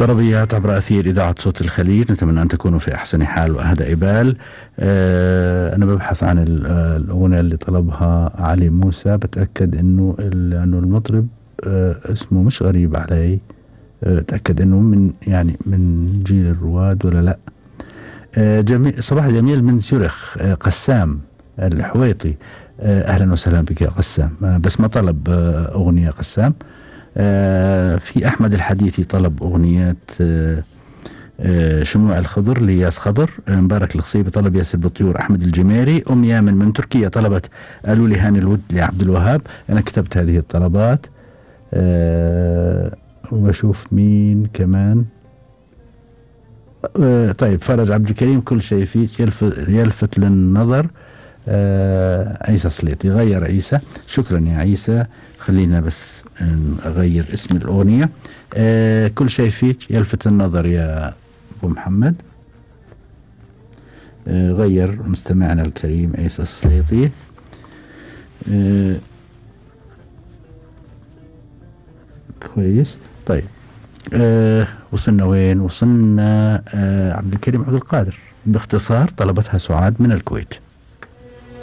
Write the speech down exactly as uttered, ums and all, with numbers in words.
طربيات عبر أثير إذاعة صوت الخليج، نتمنى أن تكونوا في أحسن حال وأهدى بال. أه أنا ببحث عن الأغنية اللي طلبها علي موسى، بتأكد إنه إنه المطرب أه اسمه مش غريب علي، أه تأكد إنه من يعني من جيل الرواد ولا لأ. أه جميل، صباح جميل من سورخ. أه قسام الحويطي، أه أهلا وسهلا بك يا قسام. أه بس ما طلب أه أغنية قسام. آه في أحمد الحديثي طلب أغنية آه آه شموع الخضر لياس خضر. آه مبارك الخصيبي طلب ياسر بالطيور. أحمد الجميري. أم يامن من تركيا طلبت قالوا لي هاني الود لعبد الوهاب. أنا كتبت هذه الطلبات. آه وبشوف مين كمان. آه طيب فرج عبد الكريم كل شيء فيك يلفت, يلفت للنظر. آه عيسى سليطي غير عيسى. شكرا يا عيسى. خلينا بس أغير اسم الأغنية. آه كل شيء فيك يلفت النظر يا أبو محمد. آه غير مستمعنا الكريم عيسى السليطي. آه كويس. طيب آه وصلنا وين؟ وصلنا آه عبد الكريم عبد القادر. باختصار طلبتها سعاد من الكويت.